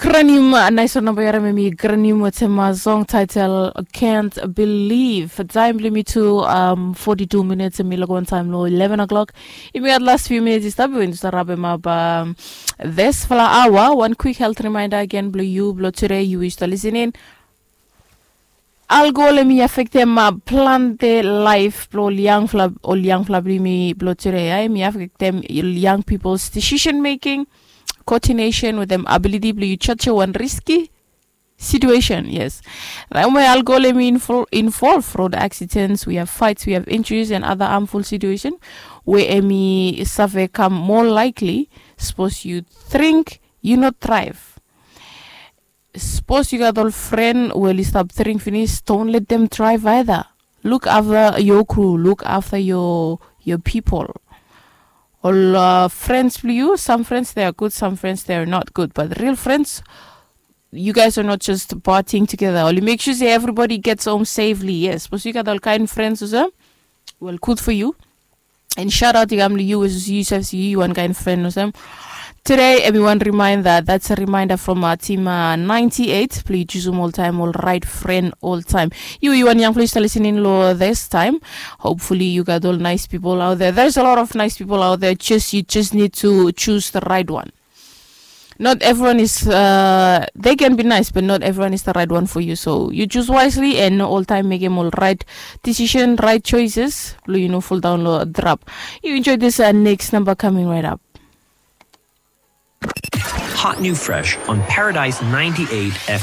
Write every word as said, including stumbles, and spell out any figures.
Granim, nais wan namba yu harim em i Granim wetem song title Can't Believe. Taem blong yumi tu, um, forty-two minutes, em i lak wan taem long eleven o'clock. Yumi gat last few minutes i stap, yumi stap rapem ap, um, this fala awa. Wan quick health reminder again blong yu blong tude, yu i stap listening. Alkohol em i afektem, uh, plante laef blong ol yangfala, ol yangfala blong yumi blong tude, ia. Em i afektem ol young people's decision making, coordination wetem ability blong yu judge wan risky situation, yes. Taem we alkohol em i invol-, involve road accidents, we have fights, we have injuries and other harmful situation we em i save kam more likely. Sapos yu drink, yu no drive. Sapos yu gat ol fren we oli stap dring finis, don't let them drive either. Look after your crew, look after your, your people. Ol, uh, friends blong yu, some friends they are good, some friends they are not good, but real friends, you guys are not just partying together. Oli make sure say everybody gets home safely. Yes, sapos yu gat ol kaen friends olsem, well, good for you. And shout out i kam long yu, yu sef, yu wan kaen fren olsem. Tude em i wan reminder, that's a reminder from, uh, team, uh, ninety-eight, blong yu jusum oltaem ol raet fren oltaem. Yu, yu wan yangfala yu stap listening long this time. Hopefully you got all nice people out there. There's a lot of nice people out there. Just, you just need to choose the right one. Not everyone is, uh, they can be nice, but not everyone is the right one for you. So you choose wisely and no oltaem mekem ol raet decision, raet choices blong yu no foldaon long trap. Yu enjoy this, uh, next namba coming right up. Hot new fresh on Paradise ninety-eight